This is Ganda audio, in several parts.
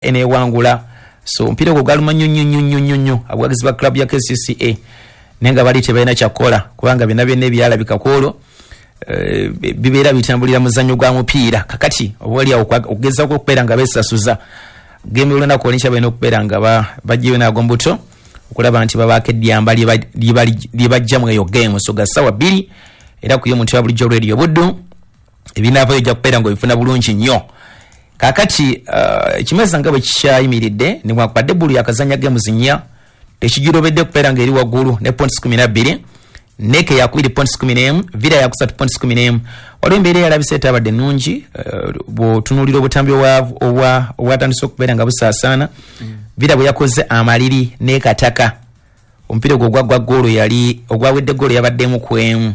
Enewangula. So omupiira ogwo gwaluma nnyo nnyo nnyo nnyo nnyo abawagizi ba club ya KCCA, naye nga bali tebalina kyakukola kubanga byonna byonna ebyalabika ku olwo bibeera bitambulira muzannyo gwa mupiira. Kakati oba oliawo okugezaako okubeera nga beesasuza game olunaku olwenkya, balina okubeera nga bajjayo n'agombuto okulaba nti babaako edyamba lye bajjamu eyo game. So ga ssaawa 2 era ku y'omuntu wa bulijjo Radio Buddu, ebinaavayo ojja kubeera nga obifuna bulungi nnyo. Kakati ekimeza nga bwe kikyayimiridde, newankubadde Bul yakazanya games 4, tekigirobedde kubeera nga eri waggulu ne points 12, NEC yakubiri points 11, Villa yakusatu points 11. Waliwo embeera eyalabisa etabadde ennungi bw'otunuulira obutambi obwatandise okubeera nga busaasaana. Villa bwe yakoze amaliri n'ekataka omupiira ogwo ogwaggwa goolo yali ogwawedde goolo yabaddemu ku emu.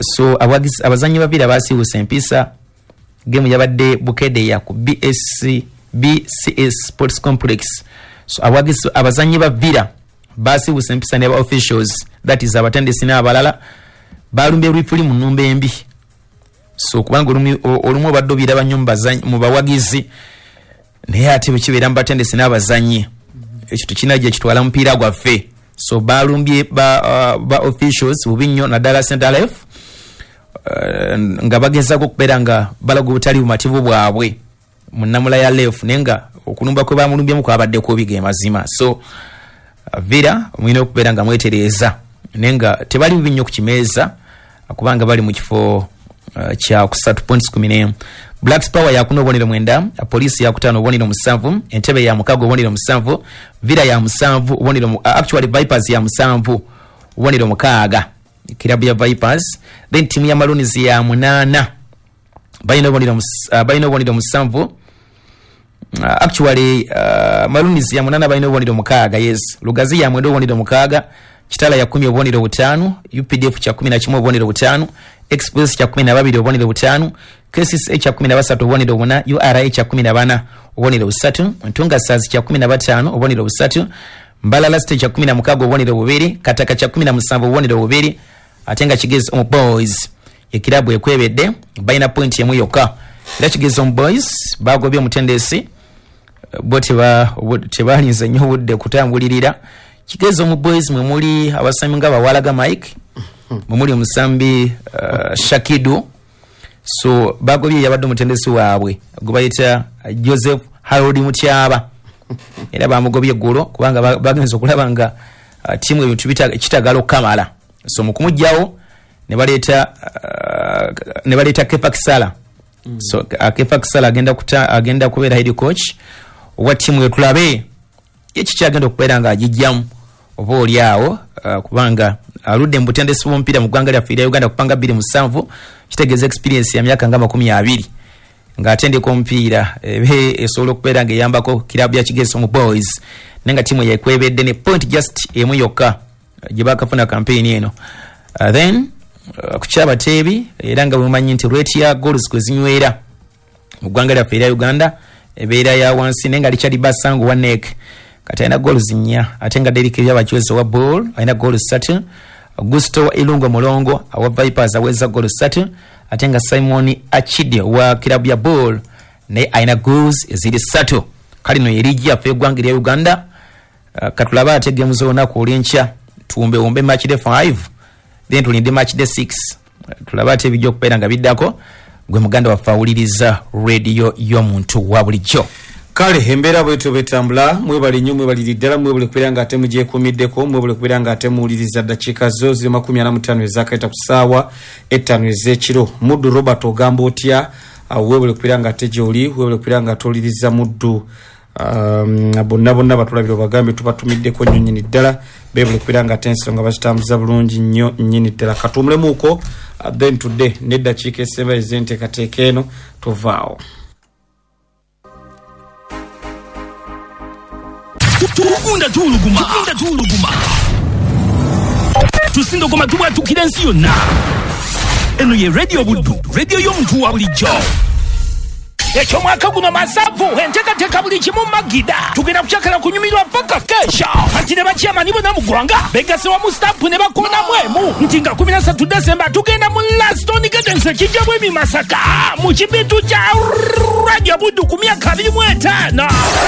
So abazannyi ba Villa basiiwusa empisa. Game yabadde Bukedeya ku BSC, BCS Sports Complex. So abazannyi ba Villa basiiwusa empisa ne ba officials, that is abatendesi n'abalala, balumbye referee mu nnumba embi. So kubanga olumu obadde obiraba nnyo mu bawagizi, naye ate bwe kibeera mu batendesi n'abazannyi, ekyo tekinajja kitwala mupiira gwaffe. So balumbye ba officials bubi nnyo, naddala center ref, nga bagezaako okubeera nga balaga obutali bumativu bwabwe mu nnamula ya ref, naye nga okulumba kwe bamulumbyemu kwabadde kubi ge mazima. So Villa mulina okubeera nga mwetereeza, naye nga tebali bubi nnyo ku kimeeza kubanga bali mu kifo kya kusatu, points 11. Black Power yakuna obubonero 9, Poliisi yakutaano obubonero 7, Entebe ya mukaaga obubonero 7, Villa ya 7 obubonero actually Vipers ya 7 obubonero 6, kirabu ya Vipers. Then timu ya Maroons ya 8, balina obubonero 7. Actually Maroons ya 8, balina obubonero 6, yes. Lugazi ya 9 obubonero 6, Kitala ya 10 obubonero 5, UPDF kya 11 obubonero 5, Express kya 12 obubonero 5, KCCA kya 13 obubonero 4, URA kya 14 obubonero 3, Ntunga Stars kya 15 obubonero 3, Mbalala City kya 16 obubonero 2, Kataka kya 17 obubonero 2, ate nga Kigezi Omu Boys ekirabu ekwebedde, balina point emu yokka. Era Kigezi Omu Boys bagobye omutendesi, bo tebalinze nnyo obudde kutambulirira. Kigezi Omu Boys mwe muli abasambi nga Bawalaga Mike, mwe muli omusambi Shakidu. So bagobye yabadde omutendesi waabwe gwe bayita Joseph Harold Mutyaba, era bamugobye eggulo kubanga bagenze okulaba nga ttiimu ebintu kitagala okukamala. So mu kumugjawo ne baleeta Kefa Kisala. So Kefa Kisala agenda kubeera head coach owa ttiimu eyo, tulabe ye kikyagenda okubeera nga agijjamu oba oli awo, kubanga aludde mu butendesi bw'omupiira mu ggwanga lyaffe erya Uganda kupanga 27, kitegeeza experience ya myaka nga 20 ng'atendeka omupiira, ebe esobola okubeera ng'eyambako kirabu ya Kigezi Omu Boys, naye nga ttiimu yekwebedde ne point just emu yokka gye bakafuna campaign eno. Then ku kyabateebi, era nga bwemumanyi nti rate ya goals kwe zinywera mu ggwanga lyaffe erya Uganda ebeera ya wansi, naye nga Richard Basango wa NEC kati alina goals 4, ate nga Derek Byabakiwezi owa Ball alina goals 3, Gusto wa Ilungo Mulongo owa Vipers aweza goals 3, ate nga Simon Achide wa kirabu ya Ball naye alina goals eziri 3. Kale no yerigi yaffe eggwanga erya Uganda. Katulabe ate gemu z'olunaku olwenkya, tuwumbewumbe match day 5, then tulinde match day 6, tulabe ate ebijja okubeera nga biddako. Gwe muganda waffe awuliriza rediyo y'omuntu wa bulijjo. Kale embeera bwetyo bwetambula. Mwebale nnyo, mwebaliri ddala, mwebale kubeera nga ate mugyekuumiddeko, mwebale kubeera nga ate muwuliriza. Ddakiika zo ziri 45 ezakaita ku ssaawa 5 ez'ekiro. Muddu Robert, ogamba otya? Weebale kubeera nga ate gyoli, weebale kubeera nga ate owuliriza Muddu. Bonna bonna batulabira obagambe tubatumiddeko nnyo nnyini ddala, beebale kubeera nga ate ensonga bazitambuza bulungi nnyo nnyini ddala. Katuwumulemuuko, then tudde n'eddakiika esemba ez'enteekateeka eno, tuvaawo. Tugunda tuwuluguma, tugunda tuwuluguma, tusindogoma, tubwatukira ensi yonna. Eno ye Radio Buddu, radio y'omuntu wa bulijjo. Ekyomwaka guno masavu, enteekateeka buli kimu magida. Tugenda kukyakala kunyumirwa paka kesha. Kati ne bakyamani bonna mu ggwanga begasse wamu stampu ne bakoonamu emu nti nga 13 Desemba tugenda mu Laston Gardens ekijjamu emi Masaka mu kibintu kya Radio Buddu ku myaka 25.